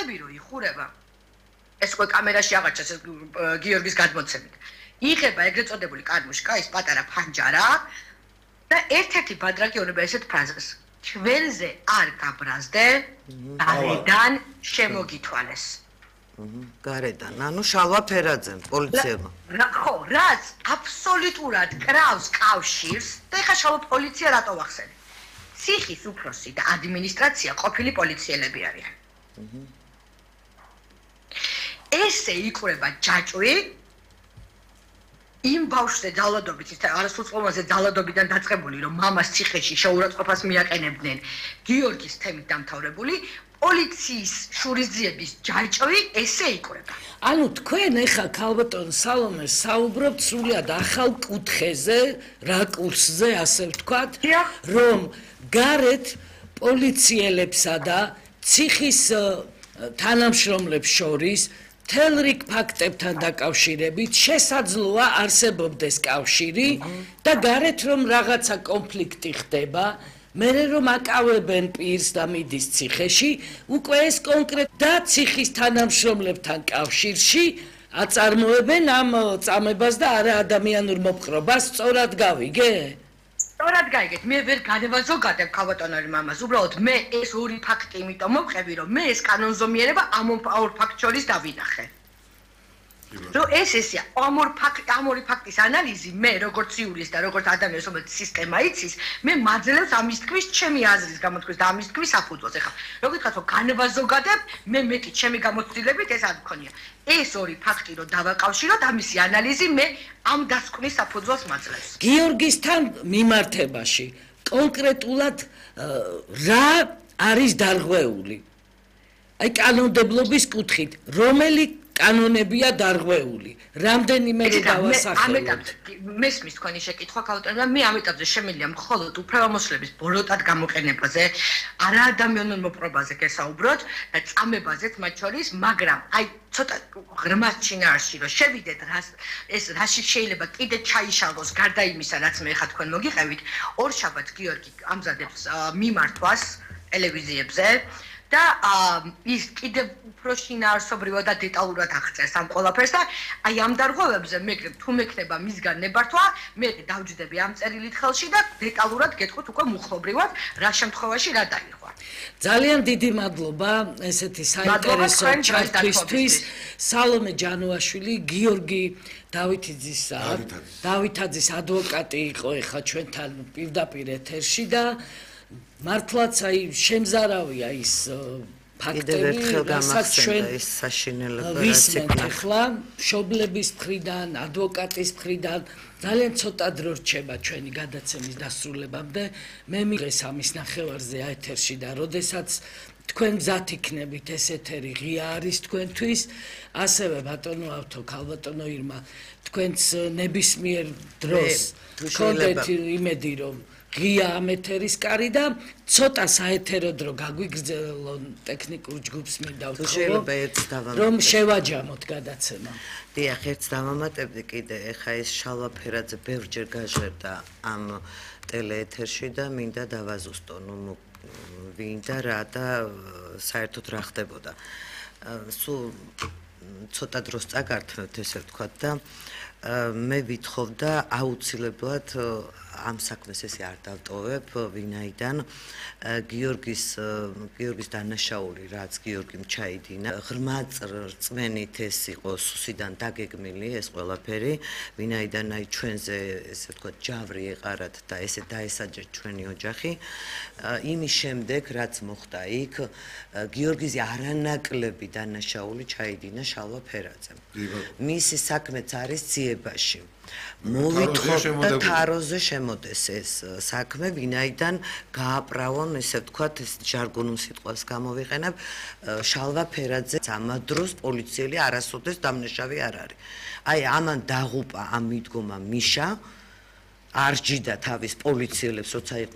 ხვდები რომ იხურება ეს უკვე კამერაში აღარჩეს გიორგის გადმოცემით იღება ეგრეთ წოდებული კარმუშკა ის პატარა ფანჯარა და ერთ-ერთი ბადრაკი ონება ესეთ ფრაზას ჩვენზე არ გაბრაზდე გარედან შემოგითვალეს გარედან ანუ შალვა ფერაძემ პოლიციებმა ხო რაც აბსოლუტურად კრავს კავშირს და ეხა შალვა პოლიცია რატო ვახსენე ციხის უფროსი და ადმინისტრაცია ყოფილი პოლიციელები არიან ესე იკვრება ჯაჭვი იმ ბავშვზე ძალადობით ის არასრულწლოვანზე ძალადობიდან დაწყებული რომ მამას ციხეში შეურაცხყოფას მიაყენებდნენ გიორგის თემით დამთავრებული პოლიციის შურისძიების ჯაჭვი ესე იკვრება ანუ თქვენ ეხა ქალბატონ სალომეს საუბრობთ სრულად ახალ კუთხეზე რაკურსზე ასე ვთქვათ რომ გარეთ პოლიციელებსა და ციხის თანამშრომლებს შორის მთელ რიგ ფაქტებთან დაკავშირებით შესაძლოა არსებობდეს კავშირი და გარეთ რომ რაღაცა კონფლიქტი ხდება მერე რომ აკავებენ პირს და მიდის ციხეში უკვე ეს კონკრეტ და ციხის თანამშრომლებთან კავშირში აწარმოებენ ამ წამებას და არა ადამიანურ მოპყრობას სწორად გავიგე? სწორად გაიგეთ მე ვერ განევაზოგადებ ქალბატონური მამას უბრალოდ მე ეს ორი ფაქტი იმიტომ მოვყევი რომ მე ეს კანონზომიერება ამ ორ ფაქტ შორის დავინახე რომ ესეა ამ ორი ფაქტის ანალიზი მე როგორც იურისტი და როგორც ადამიანი რომელიც სისტემა იცის მე მაძლევს ამის თქვის ჩემი აზრის გამოთქმის და ამის თქვის საფუძველს ეხლა რო გითხრათ რომ განევაზოგადებ მე მეტი ჩემი გამოცდილებით ეს არ მქონია ეს ორი ფაქტი რომ დავაკავშიროთ ამისი ანალიზი მე ამ დასკვნის საფუძველს მაძლევს გიორგისთან მიმართებაში კონკრეტულად რა არის დარღვეული აი კანონმდებლობის კუთხით რომელი კანონებია დარღვეული რამდენიმე დავასახელოთ მესმის თქვენი შეკითხვა ქალბატონო მე ამ ეტაპზე შემიძლია მხოლოდ უფლებამოსილების ბოროტად გამოყენებაზე არაადამიანურ მოპყრობაზე გესაუბროთ და წამებაზეც მათ შორის მაგრამ აი ცოტა ღრმა შინაარსში რომ შევიდეთ ეს რაში შეიძლება კიდე ჩაიშალოს გარდა იმისა რაც მე ხა თქვენ მოგიყევით ორშაბათს გიორგი ამზადებს მიმართვას ტელევიზიებზე და ის კიდე უფრო შინაარსობრივად და დეტალურად აღწერს ამ ყველაფერს და აი ამ დარღვევებზე მე თუ მექნება მისგან ნებართვა მე დავჯდები ამ წერილით ხელში და დეტალურად გეტყვით უკვე მუხლობრივად რა შემთხვევაში რა დაიღვა ძალიან დიდი მადლობა ესეთი საინტერესო ჩართვისთვის სალომე ჯანოაშვილი გიორგი დავითაძის ადვოკატი იყო ეხა ჩვენთან პირდაპირ ეთერში და მართლაც აი შემზარავია ის ფაქტები, რასაც ჩვენ ვისმენთ ახლა მშობლების მხრიდან, ადვოკატის მხრიდან ძალიან ცოტა დრო რჩება ჩვენი გადაცემის დასრულებამდე. მე მიღეს ამის ნახევარზე ეთერში და როდესაც თქვენ გზად იქნებით ეს ეთერი ღია არის თქვენთვის, ასევე ბატონო ავთო, ქალბატონო ირმა, თქვენც ნებისმიერ დროს გქონდეთ იმედი რომ ღია ამ ეთერის კარი და ცოტა საეთერო დრო გაგვიგრძელონ ტექნიკურ ჯგუფს მინდა ვთხოვო რომ შევაჯამოთ გადაცემა. დიახ, ერთს დავამატებდი კიდე, ეხა ეს შალვა ფერაძე ბევრჯერ გაჟღერდა ამ ტელეეთერში და მინდა დავაზუსტო, ნუ ვინ და რა და საერთოდ რა ხდებოდა. სულ ცოტა დროს წაგართმევთ ესე ვთქვათ და მე ვითხოვდა აუცილებლად ამ საქმეს ესე არ დავტოვებ ვინაიდან გიორგის დანაშაული რაც გიორგიმ ჩაიდინა ღრმა რწმენით ეს იყო სუსიდან დაგეგმილი ეს ყველაფერი ვინაიდან აი ჩვენზე ესე ვთქვათ ჯავრი ეყარათ და ესე დაესაჯეთ ჩვენი ოჯახი იმის შემდეგ რაც მოხდა იქ გიორგის არანაკლები დანაშაული ჩაიდინა შალვა ფერაძემ მისი საქმეც არის ციებაში მოვითხოვდა თაროზე შემოდეს ეს საქმე ვინაიდან გააправონ ესე ვთქვათ ეს ჟარგონულ სიტყვას გამოვიყენებ შალვა ფერაძე ამა დროს პოლიციელი არასოდეს დამნაშავე არ არის აი ამან დაღუპა ამ მიდგომა მიშა არ ჯიდა თავის პოლიციელებს როცა იყვნენ